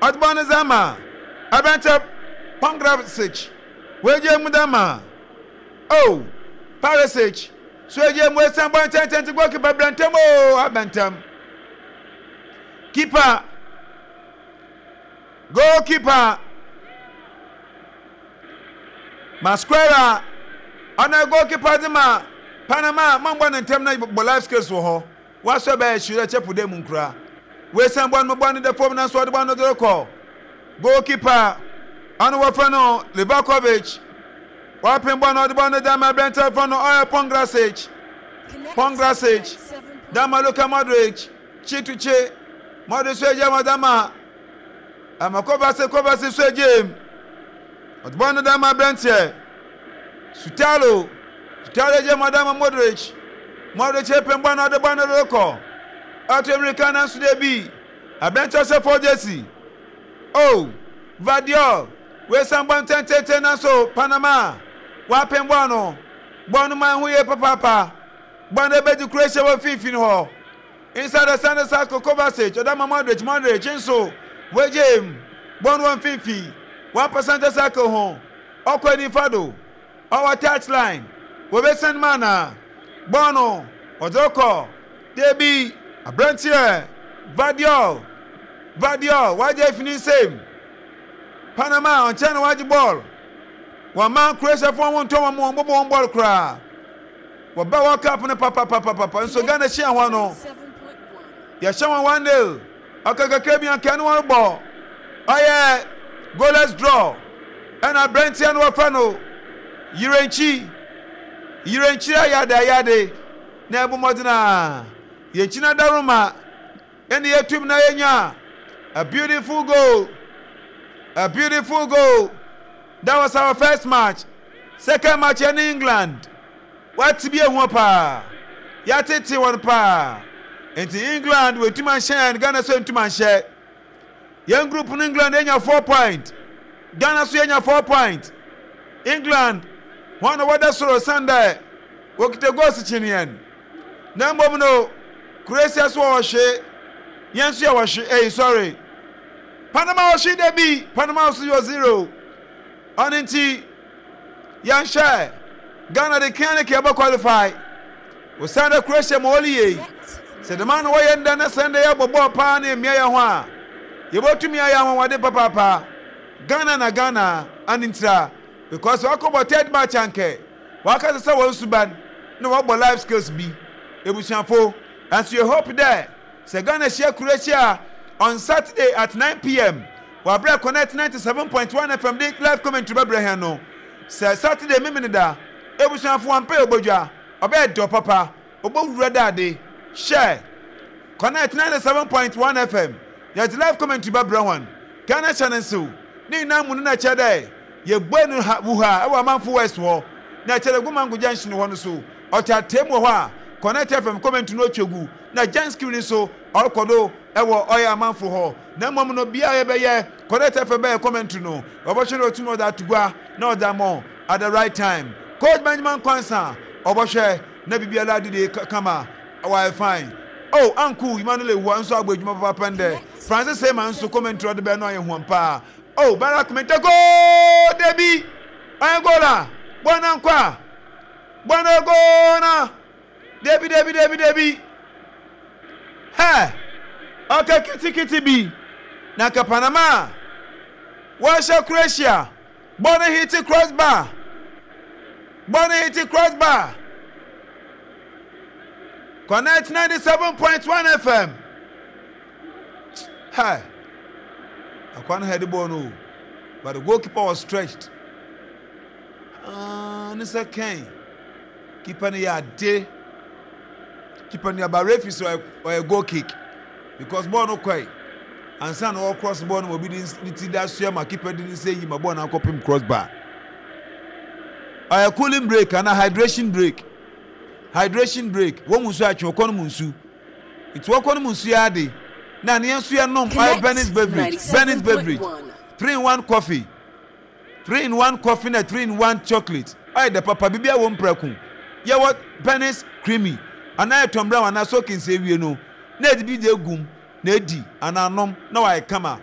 Ɔdze bɔɔl no dze ama aberantsɛ Pongracic. Oegyaa mu dze ama oh Perisic so egyaa mu esian bɔɔl ntsɛntsɛntse goalkeeper bra ntam oh aba ntam. Keeper goalkeeper Masquera ɔno goalkeeper dze ma Panama mambɔ ne ntam na bɔ life skills wɔ hɔ. Wɔasɔ bɛyɛ hyerɛ kyɛ po dɛ mu nkura. Woesian bɔn no bɔn no da famu naaso ɔdze bɔn no dze rokɔ. Goalkeeper a ɔno wɔfrɛ no Livakovic ɔapem bɔn no ɔdze bɔn no dze ama aberantsɛ a wɔfrɛ no ɔyɛ Pongracic. Pongracic dze ama Luka Modric, kye to kye. Modric so egyaa mu ɔdze ama ama Kovacic, Kovacic so egyaa mu ɔdze bɔn no dze ama aberantsɛ Sutalo. Sutalo egyaa mu ɔdze ama Modric. Modric epem bɔn no ɔdze bɔn no rokɔ. Ɔto mbirika naaso dabi. Aberantsɛ ɔhyɛ fɔɔ jersey. Oh, Gvardiol, oesian bɔn tsentsenntsen naaso Panama wɔapem bɔɔl no. Bɔɔl no maa ho yie papaapa. Bɔɔl no ebedzi Croatia wɔ mfinfin hɔ. Inside the center circle, Kovacic ɔdze ama Modric, Modric nso oegyaa mu. Bɔɔl no wɔ mfinfin, wɔapa center circle ho. Ɔkɔ nyimfa do. Ɔwɔ touch line, wobesian mu anaa? Bɔɔl no, wɔdze rokɔ. Dabi, aberanteɛ Gvardiol, Gvardiol, ɔagye efi ne nsamu. Panama, ɔnnkyɛr na wɔagye bɔɔl. Wɔmma Croatiafoɔ ho nntɔ wɔn, wɔmmbɔbɔ wɔn bɔɔl koraa. Wɔba World Cup no papapapapa, nso Ghana hyia hɔn no, yɛhyɛ hɔn 1-0. Ɔka kakra bi anka ɛne wɔn rebɔ. Ɔyɛ goalless draw. Ɛna aberanteɛ no wɔfrɛ no Yirenkyi. Yirenkyi ayade ayade na ɛbɔ mmɔden a yɛnkyi no adaroma ɛne yɛtum na yɛnya a beautiful goal. A beautiful goal. That was our first match. Second match ɛne England. Wɔate bi ehu paa. Yɛatete wɔn paa. Nti England wɔatumi anhyɛ yɛn, Ghana nso antumi anhyɛ. Yɛn group no England anya 4 point. Ghana nso yɛnya 4 point. England wɔn na wɔda soro san dɛ wɔkita goals kyen yɛn. Na mmom no Croatia nso wɔ hwe. Yɛn nso yɛwɔ hwe. Ei sorry. Panama wɔ hwe da bi. Panama nso yɛ 0. Ɔno nti Yɛnhwɛ, Ghana de kea ne kea bɛ qualify. Osiandɛ Croatia ma ɔli yie. Sɛ dɛm ara na wɔyɛ ndɛ na sɛ ndɛ yɛbɔ bɔɔl paa na yemia hɛnho a, yebotumi ayɛ anwanwade papaapa. Ghana na Ghana, ano ntira, because wɔakɔbɔ third match a nkɛ wɔakasa sɛ hɔn suban na wɔbɔ life skills bi. Ebusuafo, nso yɛ hope dɛ sɛ Ghana hyia Croatia on Saturday at 9 p.m. Wɔ aber a Connect 97.1 FM de live commentary bɛbrɛ hɛn no, sɛ Saturday Memeneda, ebusuafo wɔampɛ obodwa, ɔbɛyɛ dɛw papa, obowura dɛ ade. Hyɛ! Connect 97.1 FM, yɛdze live commentary bɛbrɛ hɔn. Ghana hyɛ no nsew, ne nyina mu no na kyerɛ dɛ yebue no ha Wuha wɔ Amanfo West hɔ, na kyerɛ dɛ Gomango Junction hɔ no so, ɔtse mu wɔ hɔ a Connect FM commentary no otwa gu, na Janscreen so ɔrokɔ do wɔ ɔyɛ amanfo hɔ, na mbom no bea a yɛbɛyɛ Connect FM bɛyɛ commentary no, wɔbɔhwɛ na otum ɔdze ato gua na ɔdze ama wo at the right time. Coach Benjamin Nkansah ɔbɔhwɛ na biribiara adidi kama, ɔayɛ fine. Oh, Uncle Emmanuel Ewuwa nso abɔ edwuma papaapa ndɛ. Francis Seyman nso commentary a ɔdze bɛyɛ no ayɛ huam paa. Oh, Barak Minteh goal! Dabi! Ɔyɛ goal a! Bɔɔl no annkɔ a! Bɔɔl no yɛ goal na! Dabi, dabi, dabi, dabi. Hɛ! Ɔka kitikiti bi na nka Panama a wɔhyɛ Croatia bɔ no hiti crossbar. Bɔ no hiti crossbar. Connect 97.1 FM. Hɛ! Akwa no head ball no, but the goalkeeper was stretched. Ah, ne sɛ kɛn. Keeper no yɛ ade. Keeper no yɛ referee sɛ ɔyɛ goal kick because bɔɔl no kɔe ansa na ɔwɔ cross bɔɔl no ma obi de ne ti da soɛ ma keeper de ne nsa yi ma bɔɔl no akɔpem cross bar. Ɔyɛ cooling break ana hydration break. Hydration break wɔn mu nsu atwe ɔkɔ no mu nsu. Nti wɔkɔ no mu nsu yɛ ade na ne yɛn nso yɛ nom ɔyɛ Benny's beverage, Benny's beverage, 3 in 1 coffee. 3 in 1 coffee na 3 in 1 chocolate ɔyɛ dɛ papa, biribiara wɔ mu prɛko. Yɛwɔ Penny's creamy anaa yɛ Tom Brown anaa soakings. Ewie no na yɛde bi de egum na edi anaa nom na wayɛ kama.